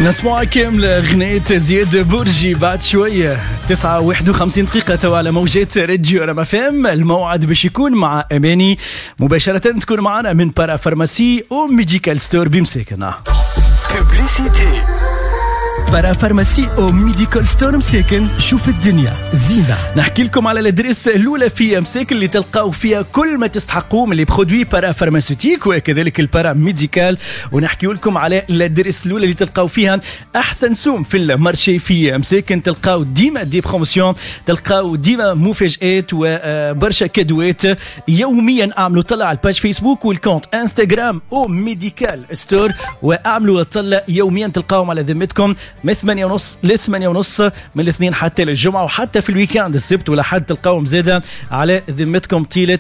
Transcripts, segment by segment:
نسمع كاملة غنية زياد برجي بعد شوية. 9:51 دقيقة توا على موجات راديو رما فام. الموعد باش يكون مع أماني مباشرة، تكون معنا من parapharmacie O Medical Store بمساكن. Publicité. parapharmacie O Medical Store مساكن، شوف الدنيا زينة. نحكي لكم على l'adresse الأولى في مساكن اللي تلقاو فيها كل ما تستحقوه من les produits parapharmaceutiques وكذلك ال paramédical، ونحكي لكم على l'adresse الأولى اللي تلقاو فيها أحسن سوم في ال marché في مساكن. تلقاو ديما des promotions، تلقاو ديما مفاجآت وبرشا كادوات يوميا. اعملوا طلع على ال page فيسبوك وال compte انستغرام O Medical Store، واعملوا طلع يوميا، تلقاهم على ذمتكم من 8:30 ل 8:30 من الاثنين حتى للجمعة، وحتى في ال week-end السبت والأحد تلقاهم زادة على ذمتكم طيلة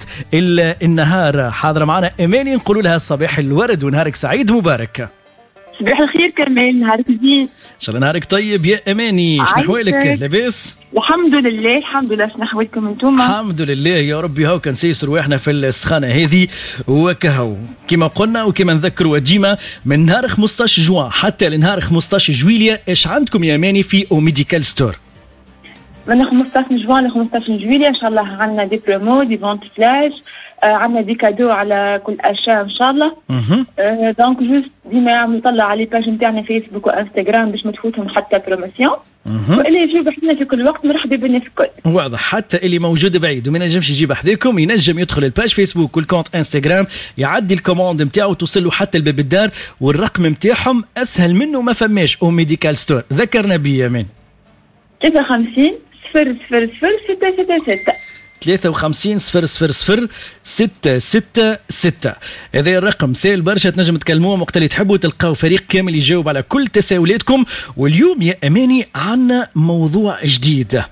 النهار. حاضرة معنا أماني، نقولوا لها صباح الورد ونهارك سعيد مبارك. صباح الخير كمال، نهارك زين. إن شاء الله نهارك طيب يا أماني، شنو أحوالك؟ لاباس؟ الحمد لله الحمد لله، شنو أحوالكم انتوما؟ الحمد لله يا ربي. هاو كان سيسر واحنا في السخانة هذه وكهو كما قلنا وكما نذكروا ديما من نهار 15 جوان حتى لنهار 15 جويلية. ايش عندكم يا أماني في O Medical Store؟ من 15 جوان ل 15 جويلية ان شاء الله عندنا des promos، des ventes flash، عندنا des cadeaux على كل achat ان شاء الله. donc juste ديما نطلع على les pages نتاعنا فيسبوك وانستغرام باش ما تفوتهم حتى promotion، واللي يجيو بحذنا في كل وقت مرحبا بنا في الكل. واضح، حتى اللي موجود بعيد وما ينجمش يجيب حذاكم ينجم يدخل ال page فيسبوك وال compte انستغرام، يعدي ال commande نتاعو توصل له حتى لباب الدار، والرقم نتاعهم اسهل منه ما فماش. O Medical Store ذكرنا بيه يا مان. 53 0 0 0 6 6 6 53 0 0 0 6 6 6. هذا الرقم سهل برشا، تنجم تكلموهم وقت اللي تحبوا، تلقاو فريق كامل يجاوب على كل تساؤلاتكم. واليوم يا أماني عنا موضوع جديد،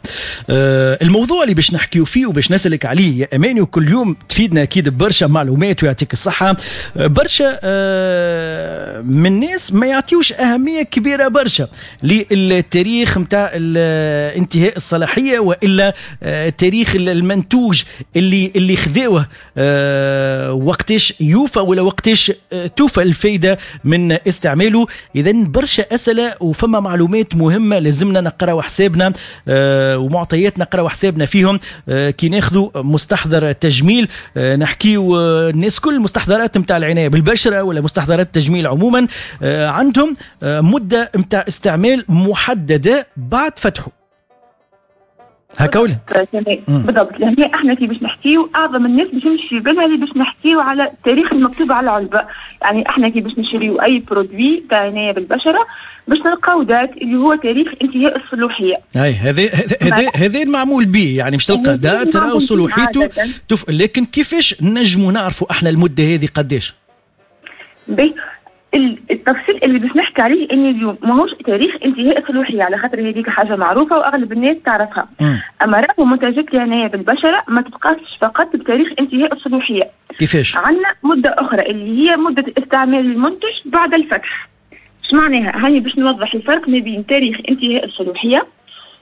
الموضوع اللي باش نحكيو فيه وباش نسألك عليه يا أماني، وكل يوم تفيدنا أكيد برشا معلومات ويعطيك الصحة. برشا من الناس ما يعطيوش أهمية كبيرة برشا للتاريخ متاع انتهاء الصلاحية وإلا تاريخ المنتوج اللي خذوه، وقتاش يوفى ولا وقتاش توفى الفايدة من استعماله. إذا برشا أسئلة وفما معلومات مهمة لازمنا نقراو حسابنا، ومعطيات نقراو حسابنا فيهم. كي ناخذوا مستحضر تجميل، نحكيو الناس كل مستحضرات متاع العناية بالبشرة ولا مستحضرات التجميل عموما، عندهم مدة متاع استعمال محددة بعد فتحه. هكا ولا؟ بالضبط. لهنا احنا كي باش نحكيو اعظم الناس باش يمشي في بالها اللي باش نحكيو على التاريخ المكتوب على العلبة، يعني احنا كي باش نشريو اي produit تاع عناية بالبشره باش نلقاو date اللي هو تاريخ انتهاء الصلاحية. اي هذا المعمول به، يعني باش تلقى date راهو صلاحيته، لكن كيفاش نجموا نعرفوا احنا المدة هذه قداش؟ باهي، التفصيل اللي باش نحكي عليه ان اليوم ماهوش تاريخ انتهاء الصلاحية، على خاطر هذيك حاجة معروفة واغلب الناس تعرفها. اما راهو منتجات العناية بالبشره ما تتقاسش فقط بتاريخ انتهاء الصلاحية. كيفاش؟ عندنا مده اخرى اللي هي مده استعمال المنتج بعد الفتح. اش معناها؟ هاني باش نوضح الفرق ما بين تاريخ انتهاء الصلاحية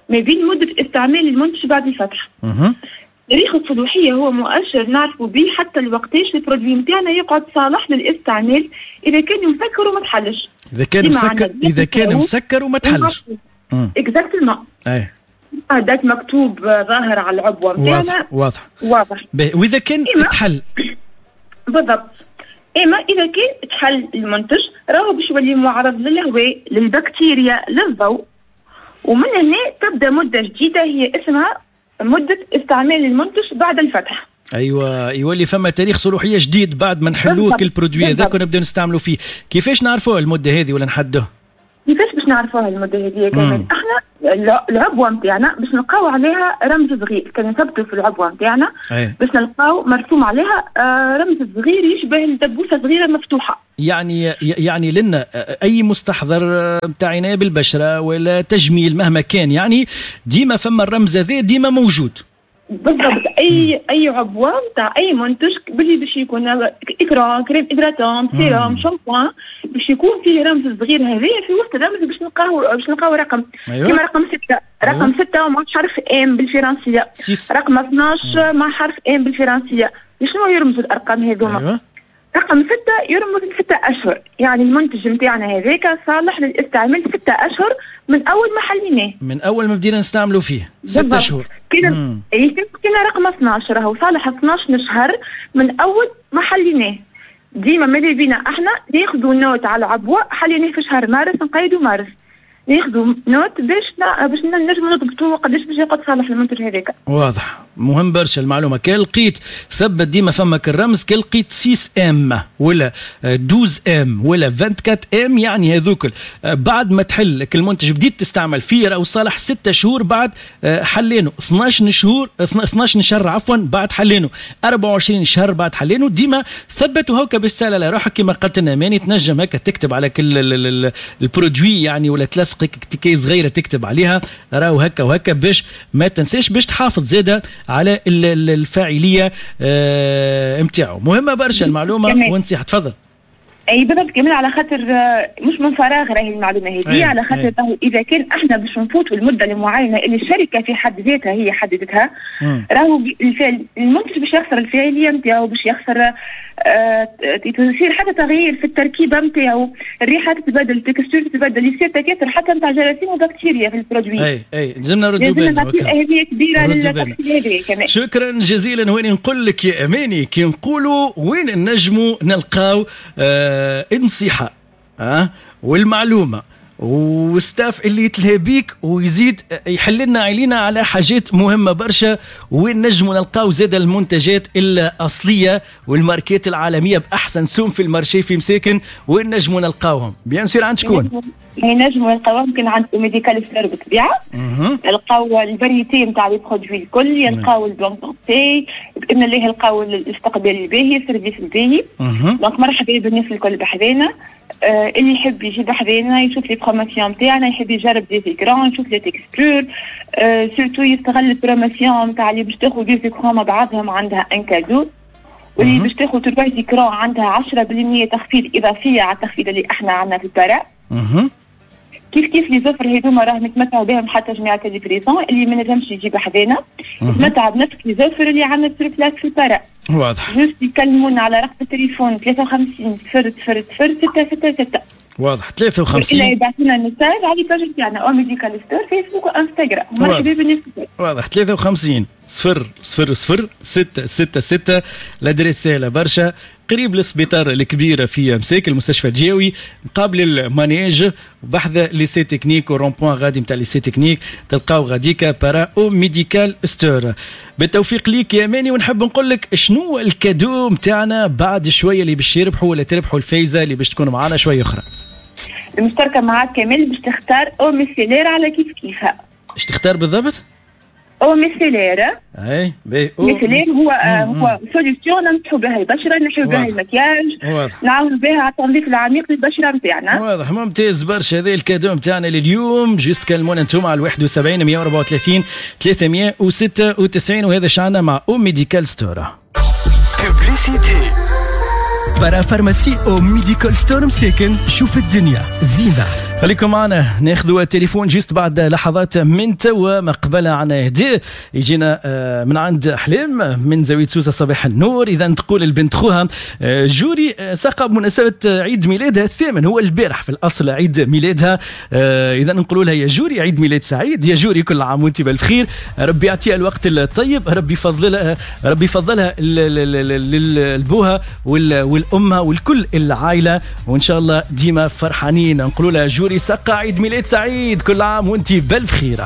ما بين مده استعمال المنتج بعد الفتح. تاريخ الصلاحية هو مؤشر نعرفوا به حتى الوقتاش ال produit نتاعنا يقعد صالح للاستعمال إذا كان مسكر وما تحلش. إذا كان مسكر وما تحلش. Exactement. أي. date مكتوب ظاهر على العبوة نتاعنا. واضح. واضح. وإذا كان تحل. بالضبط. إما إذا كان تحل المنتج راهو باش يولي معرض للهواء، للبكتيريا، للضوء، ومن هنا تبدأ مدة جديدة هي اسمها مدة استعمال المنتج بعد الفتح. ايوه، يولي فما تاريخ صلاحية جديد بعد ما نحلوه كل produit هذاك ونبداو نستعملوا فيه. كيفاش نعرفوه المدة هذه ولا نحدوه؟ كيفاش باش نعرفوها المدة هذه كمان؟ احنا العبوة نتاعنا باش نلقاو عليها رمز صغير، كان نثبتوا في العبوة نتاعنا باش نلقاو مرسوم عليها رمز صغير يشبه الدبوسة صغيرة مفتوحة. يعني لنا اي مستحضر نتاع عناية بالبشرة ولا تجميل مهما كان، يعني ديما فما الرمز هذا ديما موجود. بالضبط. اي عبوة نتاع اي منتج باللي باش يكون écran، crème hydratante، sérum، shampoing، باش يكون فيه رمز صغير هذايا في وسط الرمز باش نلقاو رقم. أيوة. كيما رقم 6، رقم 6 مع حرف M بالفرنسيه، رقم 12 مع حرف M بالفرنسيه. شنو يرمزوا الارقام هذوما؟ أيوة. رقم 6 يرمز ل6 أشهر، يعني المنتج نتاعنا هذاك صالح للاستعمال 6 أشهر من أول ما حليناه، من أول ما بدينا نستعملوا فيه 6 شهور. كنا رقم 12 راهو صالح 12 شهر من أول ما حليناه. ديما ماذا بينا احنا ناخذوا note على العبوة، حليناه في شهر مارس نقيدوا مارس، ناخذوا note باش نجموا نضبطوا قداش باش يقعد صالح المنتج هذاك. واضح، مهم برشا المعلومة. كي لقيت ثبت ديما فمك الرمز، كي لقيت 6 M ولا 12 M ولا 24 M، يعني هذوك بعد ما تحل المنتج بديت تستعمل فيه راهو صالح 6 شهور بعد حلينه، 12 شهور 12 شهر عفوا بعد حلينه، 24 شهر بعد حلينه. ديما ثبت وهوكا باش تسال على روحك كما قلت لنا ماني، تنجم هكا تكتب على كل ال produit يعني، ولا تلصق تيكي صغيرة تكتب عليها راهو هكا وهكا باش ما تنساش، باش تحافظ زاده على الفاعلية نتاعو. مهمة برشا المعلومة ونصيحة. تفضل. اي بالضبط كمان، على خاطر مش من فراغ راهي المعلومة هذه، على خاطر اذا كان احنا باش نفوتوا المدة المعينة اللي الشركة في حد ذاتها هي حددتها، راهو المنتج باش يخسر الفاعلية نتاعو، باش يخسر يصير حتى تغيير في التركيبة نتاعو، الريحة تتبدل، ال texture تتبدل، يصير تكاثر حتى نتاع جراثيم وبكتيريا في ال produit. اي لازمنا نردوا بالنا، اهمية كبيرة للتفصيل هذا كمان. شكرا جزيلا. وين نقول لك يا اماني كي نقولوا وين نجموا نلقاو النصيحة والمعلومه و staff اللي يتلهى بيك ويزيد يحل لنا علينا على حاجات مهمة برشا، وين نجموا نلقاو زاد المنتجات الاصلية والماركات العالمية باحسن سوم في ال marché في مساكن، وين نجموا نلقاوهم؟ bien sûr عند شكون؟ ينجموا يلقاوهم كان عند Médical Store بالطبيعة، يلقاو ال variété نتاع les produits الكل، يلقاو ال bonne santé باذن الله، يلقاو الاستقبال الباهي، ال service الباهي. donc مرحبا بالناس الكل بحذانا، اللي يحب يجي بحذانا يشوف les promotions نتاعنا، يحب يجرب des écrans، يشوف les textures، surtout يستغل ال promotion نتاع اللي باش تاخذ des écrans مع بعضهم عندها un cadeau، واللي باش تاخذ 3 écrans عندها 10% تخفيض اضافية على التخفيض اللي احنا عندنا في البارا. كيف كيف les offres هذوما راهم يتمتعوا بهم حتى جماعة ال livraison اللي ما نجمش يجي بحذانا، يتمتع بنفس les offres اللي عندنا sur place في البارا. واضح. juste يكلمونا على رقم التليفون 53 0 0 0 6 6 6. واضح. 53 إلا يبعثوا لنا message على page تاعنا او Médical Store فيسبوك وانستغرام. مرحبا بالناس. واضح. 53 0 0 0 6 6 6. l'adresse سهلة برشا، قريب للسبيطار الكبير في مساكن، المستشفى الجاوي مقابل ال manège بحذا lycée technique و rond-point غادي نتاع lycée technique، تلقاو غاديكا بارا او Médical Store. بالتوفيق ليك يا ماني، ونحب نقول لك شنو ال cadeau نتاعنا بعد شوية اللي باش يربحوا ولا تربحوا الفايزه اللي باش تكون معنا شوية اخرى. المشتركة معاك كامل باش تختار eau micellaire على كيف كيفها. اش تختار بالضبط؟ eau micellaire. اي باهي. eau micellaire هو solution نمسحوا بها البشرة، نحيو بها المكياج، نعاونوا بها على التنظيف العميق للبشره نتاعنا. واضح، ممتاز برشا. هذا ال cadeau نتاعنا لليوم. juste كلمونا انتم على 71 134 396، وهذا شعنا مع او Médical Store. Publicité. parapharmacie او Médical Store مساكن، شوف الدنيا زينة. خليكم معنا، ناخذوا التليفون juste بعد لحظات من توا. ما قبل عنا هدي يجينا من عند احلام من زاوية سوسة صباح النور. اذا تقول البنت خوها جوري ساقه بمناسبة عيد ميلادها الثامن، هو البارح في الاصل عيد ميلادها. اذا نقولوا لها يا جوري عيد ميلاد سعيد، يا جوري كل عام وانت بالف خير، ربي يعطيها الوقت الطيب، ربي يفضلها، ربي يفضلها لبوها والامها والكل العائلة، وان شاء الله ديما فرحانين. نقولوا لها جوري سقا عيد ميلاد سعيد، كل عام وانت بالف خير.